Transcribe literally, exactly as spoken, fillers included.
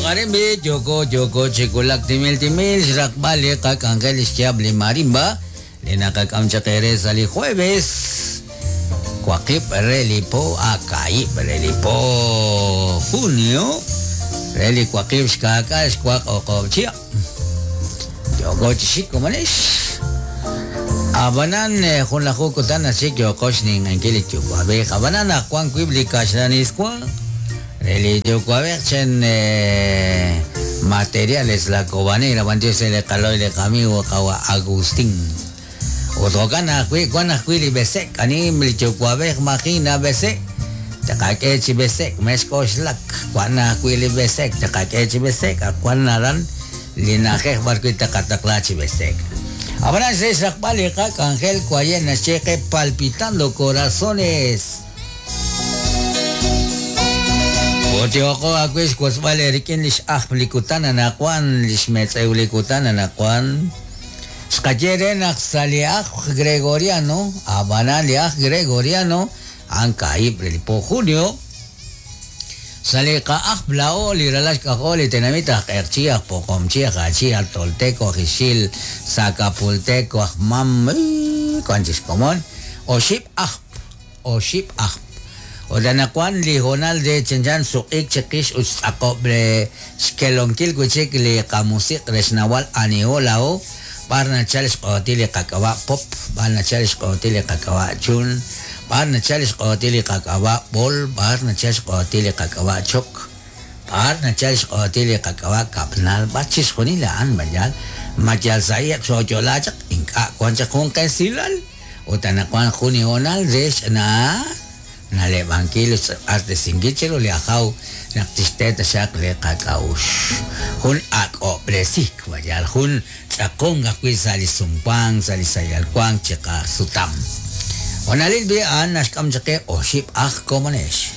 Arimbi, yoko yoko chikulak timil timil xraqb'al li qak'anjel xyaab' li marimba li naqak'am chaq eere sa' li jueves waqib' re li po a kaib' re li po junio re li waqib' xkaak'al xwaq oqob' chihab' yoko chixik komonex abanan jun laju kutan nachik yoko xninq'enkil li yuwa'b'ej abanan naq wan wib' li kaxlaniswa Eli yuwa'b'ej chen materiales la cobanera bandiose le kaloy le amigo qawa Agustín Otjokan ajwi' wan ajwi' li besek anim li yuwa'b'ej majina besek taqak'e chi besek mexk'oxlak wan ajwi' li besek taqak'e chi besek wan naran li na'ajej b'ar wi' taqataqla chi besek Ab'anan xre xraqb'al li qak'anjel waye naxyeqe palpitando corazones Otioko akuis kuasbal erikin lix ajplikutan anakuan lix metzeulicutan anakuan xkayere naq sali aj gregoriano abanan li aj gregoriano ankaib po junio sali ka aj blao li ralax kajo li tenamit aj erchi aj poqomchi aj achi aj tolteco aj ixil zacapulteco aj mam kuanchis komon oxib aj oxib aj Odanakuan li honal de chenchan suqik chiqix utz'aqob' xkelonkil wichik li qamusiq rexnawal aniolao b'ar nachal xq'otil li qak'ab'a' pop b'ar nachal xq'otil li qak'ab'a' chun b'ar nachal xq'otil li qak'ab'a' b'ol b'ar nachal xq'otil li qak'ab'a' chok b'ar nachal xq'otil li qak'ab'a' kapnal b'ar chixjunil a'an mayal mayal sa'iq xo'yola chaq ink'a' wan chaq jun qesilal utanakuan jun honal rex na nalebankil artesingichero li ajaw naq tixte taxaq li qak'awux jun ak'ob'resik mayal jun tz'aqon ajwi' sa' li sumwank sa' li sayalwank chiqasutam onalil bi a'an naxk'am chaqe oxib' aj komonex.